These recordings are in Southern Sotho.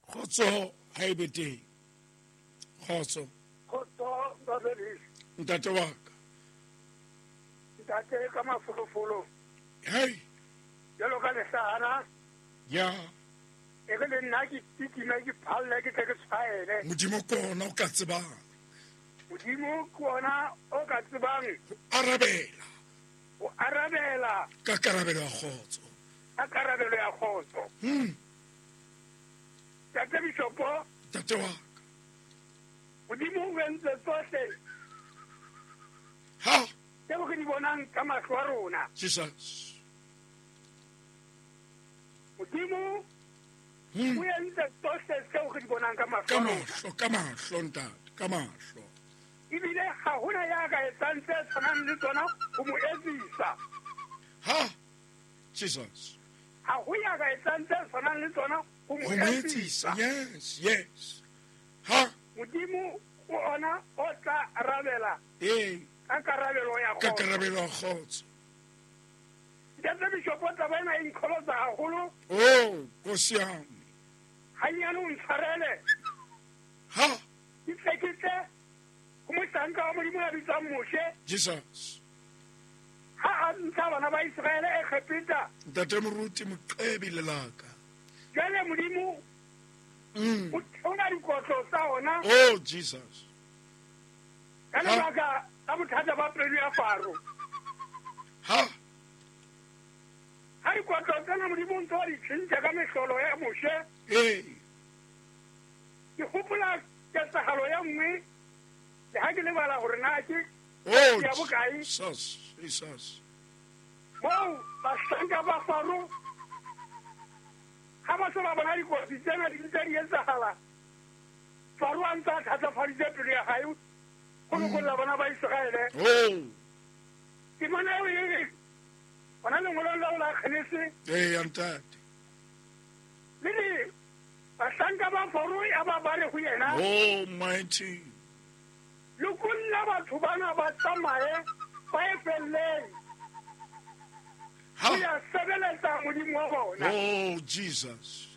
Kgotso ha e be teng. Kgotso. Kgotso Babelisi. Ntate wa ka. Ntate ka mafolofolo. Hey. Jalo ka lehlahana. Ya. E re le nna ke kitime ke phalle ke tle ke tshwaele. Modimo ke ona o ka tsebang. Modimo ke ona o ka tsebang. Ho arabela. Ho arabela. Ka karabelo ya kgotso. Ka karabelo ya kgotso. Ntate Bishopo. Ntate wa ka. Modimo o entse tsohle. Ha. Tseo re di bonang ka mahlo a rona. Jesus. Modimo o entse tsohle tseo re di bonang ka mahlo. Ka mahlo, ka mahlo, ntate, ka mahlo. Ebile ha hona ya ka etsang tse tshwanang le tsona ho mo etsisa. Ha. Jesus. Ha ho ya ka etsang tse tshwanang le tsona ho mo etsisa. Yes, yes. Ha. Modimo o ona o tla arabela. Ee. Ka karabelo ya kgotso. Ka karabelo ya kgotso. Ntate Bishopo, taba ena e nkgolotsa haholo. Oh, Nkosi yami. Hanyane o ntshwarele. Ha. Ke tle ke tle ho mohlanka wa Modimo ya bitswang Moshe. Jesus. Ha a ntsha bana ba Iseraele Egepeta. Ntate Moruti Moqebi lelaka. Jwale Modimo o theola dikotlo tsa ona. Oh, Jesus. Ka lebaka la bothata ba pelo ya Faro. Ha. Ha dikotlo tsena Modimo o ntse wa di tjhentjha ka mehlolo ya Moshe. Ee. Ke hopola ketsahalo ya nngwe le ha ke lebala hore na ke Oh, ya bokae. Jesus, Jesus. Moo bahlanka ba Faro ha ba se ba bona dikotsi tsena di ntse di etsahala, Faro a ntse a thatafaditse pelo ya hae ho lokolla bana ba Iseraele. Oh. Temana eo e re hona lengolong leo la Genese. Ee, ntate. Le re bahlanka ba Faro ya ba ba re ho yena. Oh, mighty. Lokolla batho bana ba tsamaye ba ye felleng. Ha. Ho ya sebeletsa Modimo wa bona. Oh, Jesus.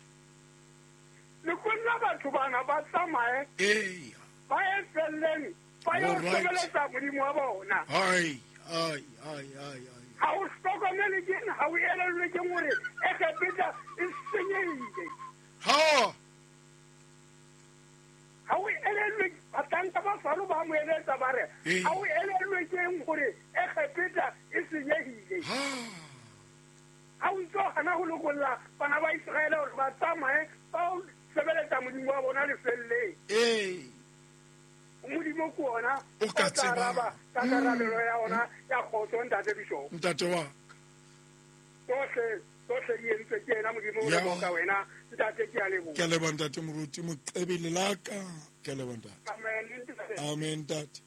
Lokolla batho bana ba tsamaye. Ee. Ba ye felleng ba yo All right. sebeletsa Modimo wa bona. Ai, ai, ai, ai, ai. Ha o hlokomele keng, ha o elellwe keng hore Egepeta e senyehile. Ha. Ha o elellwe, bahlanka ba Faro ba mo eletsa ba re, Ee. ha o elellwe keng hore Egepeta e senyehile. Ha. Ha o ntso hana ho lokolla bana ba Iseraele hore ba tsamaye ba o sebeletsa Modimo wa bona lefelleng. Ee. Modimo ke ona O ka o tla tsebang. araba ka karabelo ya ona ya kgotso, ntate Bishop. Ntate wa ka. Tsohle, tsohle di entswe ke yena Modimo, o Ya. leboha wena, ntate, ke a leboha. Ke a leboha ntate Moruti Moqebi lelaka. Ke a leboha ntate. Amen, ntate. Amen, ntate.